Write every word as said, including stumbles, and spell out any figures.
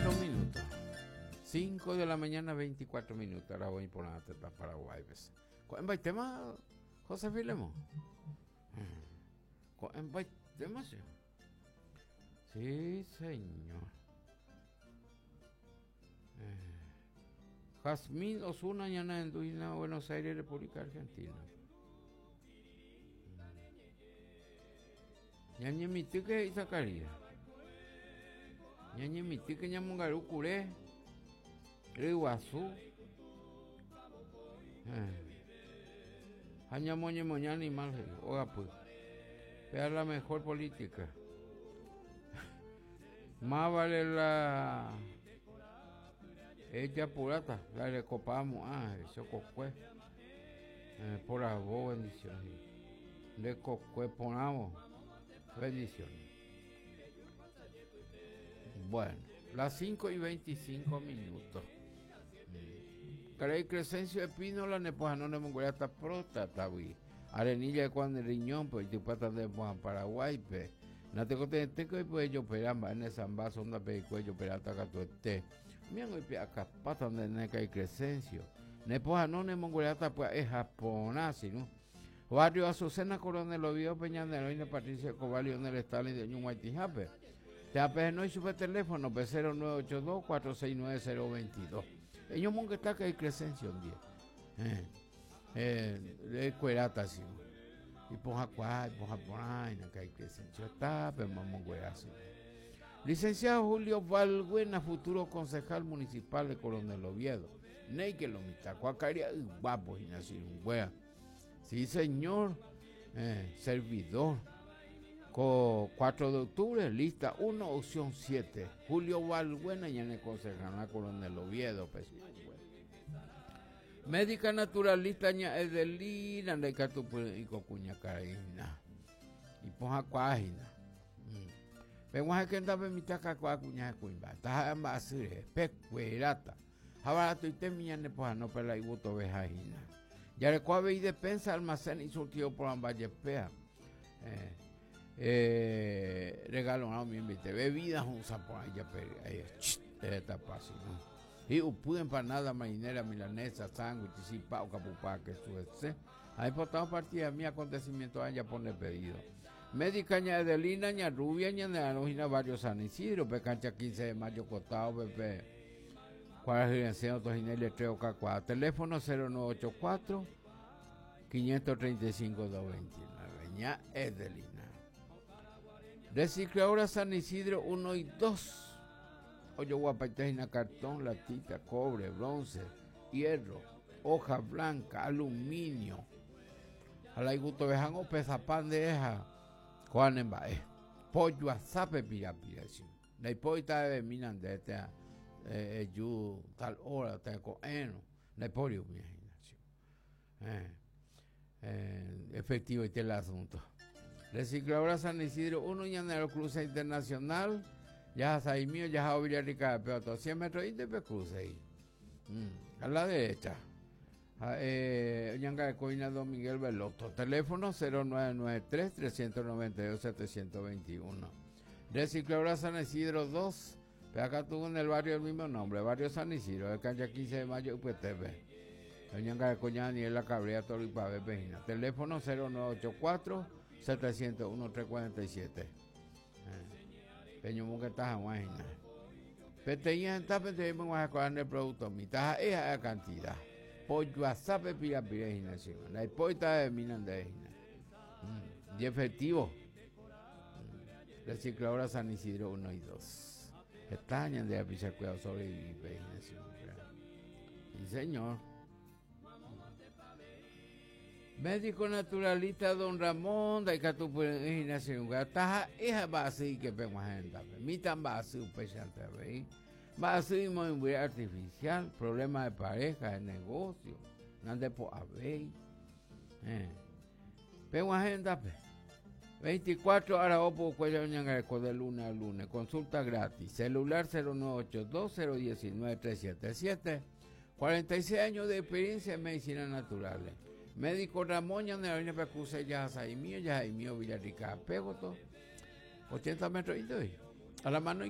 veinticuatro minutos. cinco de la mañana, veinticuatro minutos. Ahora voy por la teta Paraguay. ¿Cuál es tema, José Filemo? ¿Cuál es tema? Sí, señor. Eh, Jazmín Osuna, ñana en Duina, Buenos Aires, República Argentina. Ñañemití que Isacaría. Ñañemití que ñamongaru curé. Riguazú. Añamoñemoña animal, oga pues. Vea la mejor política. Más vale la ella purata, la recopamos, ah, eso cocue. Eh, por la voz, bendiciones. Le cocue ponamos, bendiciones. Bueno, las cinco y veinticinco minutos. Caray, Crescencio Espínola, Nepojanón de Mongolia, está próstata, güey. Arenilla de Juan de Riñón, pues, y pata de Juan Paraguay, pues. No te conté que pues yo peramba en esa vaso onda pe cuello perata catuete. Mian hoy acá pata donde neca y Crescencio. Nepojanón de Mongolia, pues es japonés, ¿no? Barrio Azucena, Coronel Oviedo, Peña de Patricia Escobar, Lionel Stalin de Ñumaitijape. Te apenas no hizo teléfono, P cero nueve ocho dos, cuatro seis nueve cero veintidós. Ellos monge está que hay Crescencio un día. Eh, eh, de cuerata, sí. Y poja cuá, y poja por ahí, no que hay Crescencio está, pero mamón güerazo. Licenciado Julio Valbuena, futuro concejal municipal de Coronel Oviedo. Ney que lo mitad, cuacaria, guapo, y nacido un wea. Sí, señor, eh, servidor. Co cuatro de octubre, lista uno, opción siete. Julio Valbuena, ya en el concejal Coronel Oviedo, pues. Médica naturalista, ña Edelina, de Catupu y Cocuña Carina. Y poja cuajina. Pero que andaba en mi taca cuacuña cuimba. Taja ambasure, pecuerata. Jabarato y temía ne poja no pela y buto vejajina. Ya le cuave y despensa, almacén y surtido por ambayepea. Eh, eh, regalo no me invité. Bebidas un sapo ahí ya pero ahí está fácil, ¿no? Y upude empanada marinera, milanesa, sándwich, cipao, capupá, que suese. Ahí portamos partida mi acontecimiento allá pone pedido. Médica ña Edelina, ña Rubia, ña Neanojina, barrio San Isidro, pe cancha quince de mayo, costado, pepe. Cuál es el Tojinel, tres o cuatro. Teléfono cero nueve ocho cuatro, quinientos treinta y cinco, dos veintinueve. Ña Edelina. Recicladora San Isidro uno y dos. Oye, guapaitejina, cartón, latita, cobre, bronce, hierro, hoja blanca, aluminio. A la iguto vejan o pesa pan de eja. Juan en bae. Pollo a sape pira pira, sí. La hipoita de minan de este, eh, yu, tal hora, te coeno. La hiporio, mi imaginación. Eh, eh, efectivo y el asunto. Recicladora San Isidro uno, Llanero Cruce Internacional. Ya ahí mío, ya Villarrica, pero a cien metros y te cruce ahí. Mm, a la derecha. Ah, eh, Ñanga de Coina Don Miguel Veloto. Teléfono cero nueve nueve tres, trescientos noventa y dos, setecientos veintiuno. Recicladora San Isidro dos. Pero acá tuvo en el barrio el mismo nombre, barrio San Isidro, de cancha quince de mayo, U P T V. Ñanga de Coña Daniela Cabrera, Toro y Pavé, Pejina. Teléfono cero nueve ocho cuatro, setecientos uno, trescientos cuarenta y siete. Eh. Peño Munga está en Peteña en tape te vemos a coger el producto. Mitad es la cantidad. Pollo a sape pira pira gimnasio. La hipoita de minan de gimnasio. Mm. Y efectivo. Mm. Recicladora San Isidro uno y dos. Estañan de la cuidado sobre y gimnasio. Sí, señor. Médico naturalista Don Ramón, de Catupu, gimnasio, taja, esa va así que pego gente, mi tan va así, un pechante, ¿veis? Va así, muy artificial, problema de pareja, de negocio, no ande por haber. Eh. Pego agenda, pe. veinticuatro horas, opo, cuello, ñangareco, de lunes a lunes, consulta gratis, celular cero nueve ocho dos, cero diecinueve, tres siete siete, cuarenta y seis años de experiencia en medicina naturales. Médico Ramón, ya no viene para cruzar, ya es mío, ya es mío, Villarrica, Pégoto, ochenta metros y doy. A la mano